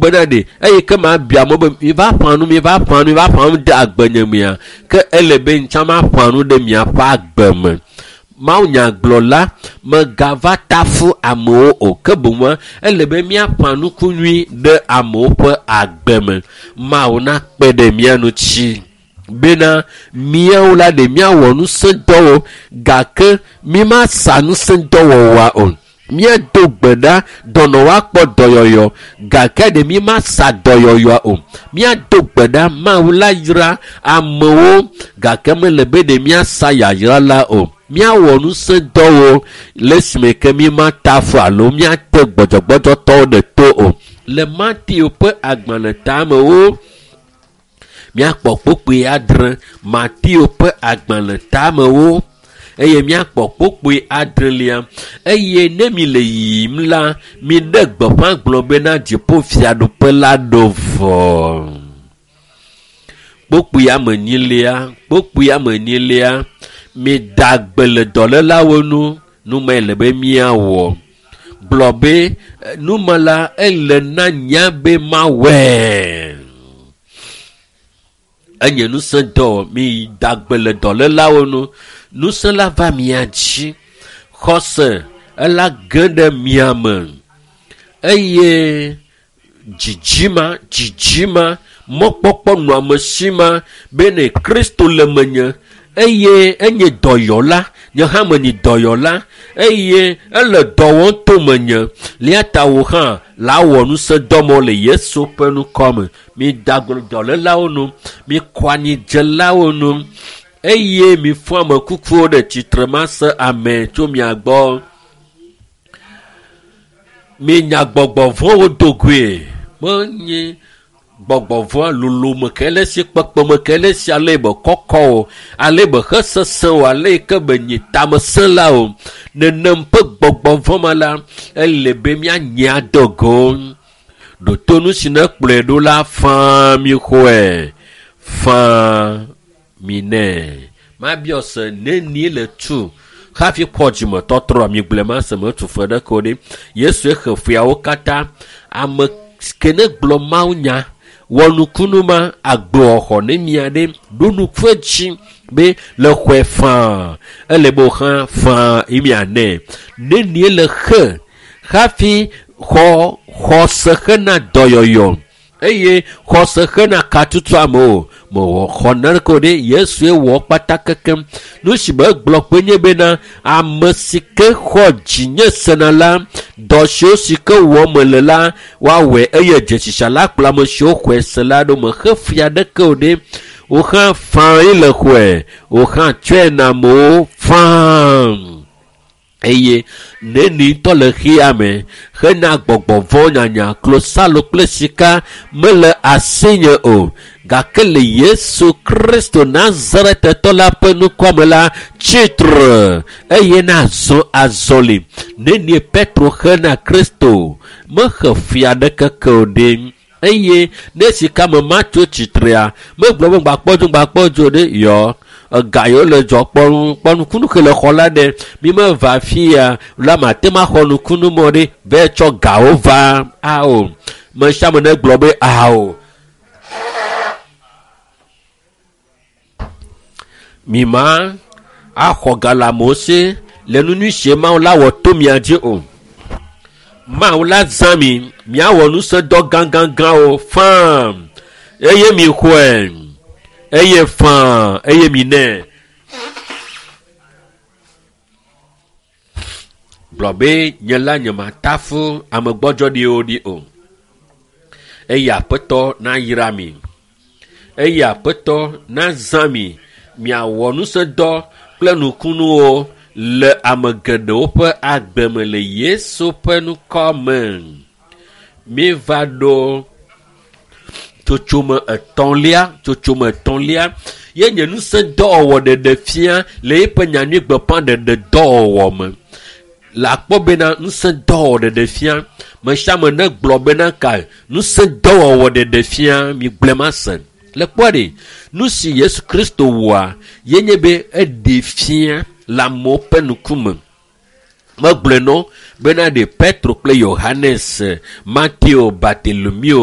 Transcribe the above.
bena ɖe eyi ke ma bia mo be mi va ƒã nu mi va ƒã nu mi va ƒã nu ɖe agbenye mea ke ele be ŋtsã ma ƒã nu ɖe miaƒe agbe me. Mawunyagblɔla megava tafu amewo o ke boŋua ele be míaƒã nuku nyui ɖe amewo ƒe agbe me. Mawu nakpe ɖe mía ŋuti bena míawo la ɖe míawɔ ŋusẽdɔwo gake mímasa ŋusẽdɔwɔwɔa o. Míado gbe ɖa dɔnɔ woakpɔ dɔyɔyɔ gake ɖe mímasa dɔyɔyɔa o. Míado gbe ɖa Mawu la yra amewo gake mele be ɖe míasa yayra la o. Míawɔ ŋusẽdɔwo le esime ke mímata fu alo míate gbɔdzɔgbɔdzɔtɔwo ɖe to o. Le Mateo ƒe agbalẽ tamewo míakpɔ kpukpui adre Mateo ƒe agbalẽ tamewo eye míakpɔ kpukpui adrelia eye ne mi le yiyim la miɖe gbeƒã gblɔ bena dziƒofiaɖuƒe la ɖo vɔ. Kpukpui ame enyilia kpukpui ame enyilia mida gbe le dɔlélawo nu numae le be míawɔ gblɔ be numa la ele na nya be mawɔe. Enye ŋusẽ dɔ mi da gbe le dɔlélawo nu ŋusẽ la va mia dzi xɔse ela ge ɖe mia me eye dzidzima dzidzima mɔkpɔkpɔ nɔamesi ma bene Kristo le menye eye enye dɔyɔla nye hã menye dɔyɔla eye ele dɔ wɔm to menye lia ta wò hã la wɔ ŋusẽdɔmɔ le Yesu ƒe ŋkɔ me. Mi da gbe le dɔlélawo nu, mi kɔ anyidzelawo nu eye mi fɔ ame kukuwo ɖe tsitre mase ame tso mia gbɔ. Mi nya gbɔgbɔ vɔ̃wo do goe menye gbɔgbɔ vɔ̃ lolome ke le esi kpekpeme ke le esi ale be kɔkɔ o ale be xesesẽ o ale yi ke be nyi tamesẽ la o nenem ƒe gbɔgbɔ vɔ̃ ma la ele be míanye adogo ɖoto nu si ne kplɔe ɖo la faa mi xɔe faa mi nɛ mabiɔ se nenie le tu hafi kpɔ dzimetɔtrɔ mi gblɔe ma se metu fe ɖeke o ɖe Yesu he fiawo katã ame ke ne gblɔ mawunya wɔ nukunu ma agbewɔxɔ ne mia ɖe ɖo nuku edzi be le xɔe faa ele be wòxã faa yi mia nɛ nenie le xe hafi xɔ xɔse xena dɔyɔyɔ eye xɔse xena katutu amewo mewɔ xɔ naneke o ɖe Yesue wɔ kpata kekem nu si be gblɔ kpe nye bena ame si ke xɔ dzinye sena la dɔ siwo si ke wɔ mele la woawɔe eye dzesisa la kplɔ ame siwo xɔe se la ɖo mexe fia ɖeke o ɖe woxã faa ye le xɔe woxã tsɔe na amewo faa eye neni ŋutɔ le xea me hena gbɔgbɔ vɔ̃ nyanya klosalo kple sika mele asinye o gake le Yesu Kristo Nazaretetɔ la ƒe ŋkɔ me la tsitre eye nazɔ azɔli nenie Petro hena Kristo mexe fia ɖeke ke o ɖe eye ne sika me matso tsitrea megblɔ be ŋgbakpɔ dzo ŋgbakpɔ dzo ɖe yɔ ega yiwo le dzɔ kpɔ kpɔ nukunu ke le xɔ la ɖe mi meva fia la mate ma xɔ nukunu mɔ ɖe vɛ tsɔ gawo va ao me sia ame ne gblɔ be ao mi ma axɔ ga le amewo si le nu nyui sie Mawu la wɔ to mia dzi o. Mawu la zã mi miawɔ ŋusẽdɔ gãgãgãwo faa eye mi xɔe eye faa eye mi nɛ. Gblɔ be nye la nye matafu ame gbɔdzɔɖiwo ɖi o. Eye Aƒetɔ nayra mi. Eye Aƒetɔ nazã mi miawɔ ŋusẽdɔ kple nukunuwo le ame geɖewo ƒe agbe me le Yesu ƒe ŋkɔ me. Míeva ɖo tsotsome etɔ̃lia tsotsome etɔ̃lia ye nye ŋusẽdɔwɔwɔ ɖeɖe fia le eƒe nyanyui gbeƒãɖeɖe dɔwɔwɔ me. Le akpɔ bena ŋusẽdɔwɔwɔ ɖeɖe fia me sia ame ne gblɔ bena ka ŋusẽdɔwɔwɔ ɖeɖe fia mi gblɔe ma se. Le kpɔ ɖe nu si Yesu Kristo wɔa ye nye be eɖe fia le amewo ƒe ŋkume. Megblɔe nɔ bena ɖe Petro kple Yohanes, Mateo, Bartolomeo